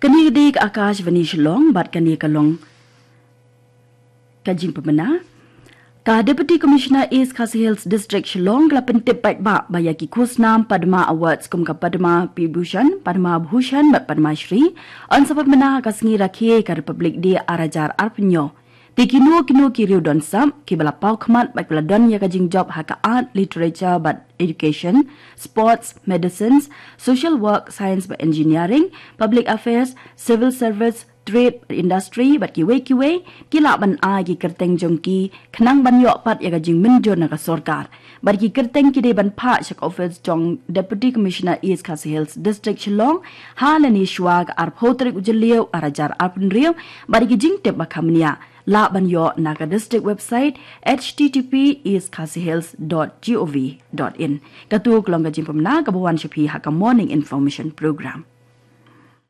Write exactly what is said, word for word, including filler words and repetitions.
Kane ka dei ka Akashvani Shillong bad kane ka long ka jingpynbna. Ka Deputy Commissioner East Khasi Hills District Shillong ka la pyntip paidbah ba ïa ki khusnam Padma Awards kum ka Padma Vibhushan, Padma Bhushan bad Padma Shri yn sa pynbna ha ka sngi rakhe ka Republic Day ar hajar arphew hynñiew. Te kino kino ki riew don sap kiba la paw khmat bad kiba la don ïa ka jingjop ha ka art, literature bad education, sports, medicines, social work, science bad engineering, public affairs, civil service, trade, industry bad kiwei kiwei, ki lah ban ai ki kyrteng jong ki khnang ban ïoh pat ïa ka jingmynjur na ka sorkar. Bad ki kyrteng ki dei ban phah sha ka office jong Deputy Commissioner East Khasi Hills District Shillong ha lane shwa ka arphew tarik u Jylliew ar hajar arphew hynriew. Bad ki jingtip ba kham nia lah ban ïoh na ka district website H T T P east khasi hills dot gov dot in. Katu ka long ka jingpynbna kaba wan sha phi ha ka Morning Information Program.